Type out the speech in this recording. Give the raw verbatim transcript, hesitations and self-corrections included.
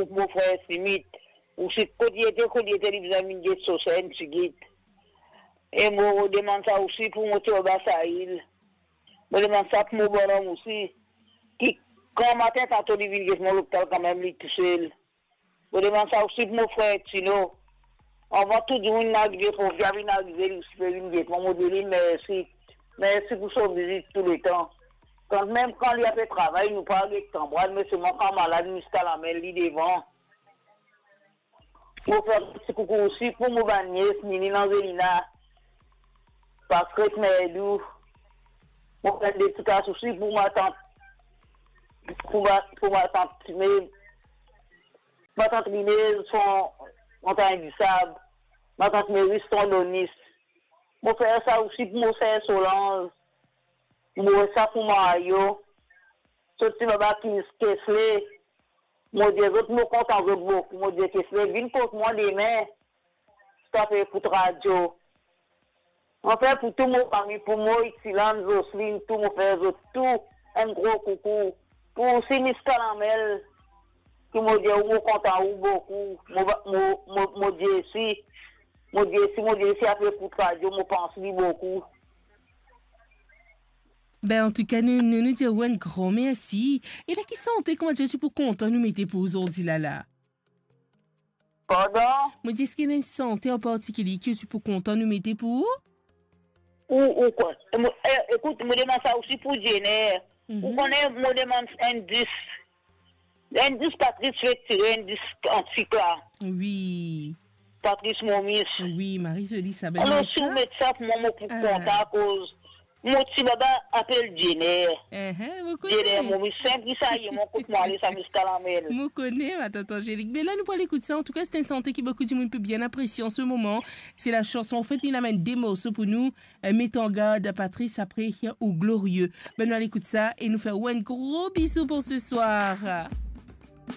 pou mo frer Simit. Osi kot li ete, kot li ete, li bizin vinn get so ser enn tigit. E mo demann sa osi pou mo ti baba Sail. Mo demann sa pou mo bonnom osi, ki gramatin tanto li vinn get mwa lopital kanmem, li tousel. Mo demann sa osi pou mo frer Tino. Avan tou dimoun inn arive, pou li vinn arive, li osi pe vinn get mwa, mo dir li mersi. Mersi pou so vizit touletan. Kanmem kan li ape travay, nou pa get kanmarad, me selman kan malad, miskal amenn li devan. Mo fer ti koukou osi pou mo bann nies, Nini, Angelina, Patrick, Merdou. Mo fer de ti kas osi pou matant, pou ma, pou matant Tine, matant Rinez, son Montagn Disab, matant Meris, son Donis. Mo fer sa osi pou mo ser Solange. Mo fer sa pou Mario. So ti baba Kis-, Kesley. Mo dir zot mo kontan zot boukou. Mo dir Kesley, vinn kot mwa demin, si to pe ekout radio. Mo fer pou tou mo fami, pou mo Itilan, Zoslin, tou, mo fer zot tou enn gro koukou. Pou osi Miss Kalamel, ki mo dir ou mo kontan ou boukou. Mo va, mo, mo, mo dir si, mo dir si, mo dir si ape ekout radio, mo pans li boukou. Ben, antouka, nou, nou, nou dir ou enn gran mersi. E la, ki sante kouma dir ti pou kontan nou mete pou ou zordi la la? Pardon? Mo dir, eski ena enn sante an partikilie ki ti pou kontan nou mete pou ou? Ou, ou kwa? E mo, e, ekout, mo demann sa osi pou Jenner. Mhm. Ou kone, mo demann enn dis. Enn dis Patrice fek tire, enn dis kantik la. Wi. Patrice Momis. Wi, mari zoli sa, ben, alor, si ou met sa pou mwa, mo pou kontan, akoz mo ti baba apel Jenner. Ehe, mo kone. Jenner Momis, senp ki sa ye, mo kot mwa ale, sa Miss Kalamel. Mo kone, ma tante Angélique. Ben la, nou pou al ekout sa. Antouka, se enn sante ki boukou dimoun pe bien apresie an se moman. Se la chanson, anfet, li amenn de morso pou nou. Eh, Met an gard Patrice apre ou Glorieux. Ben, nou al ekout sa e nou fer ou enn gro bizou pou se swar.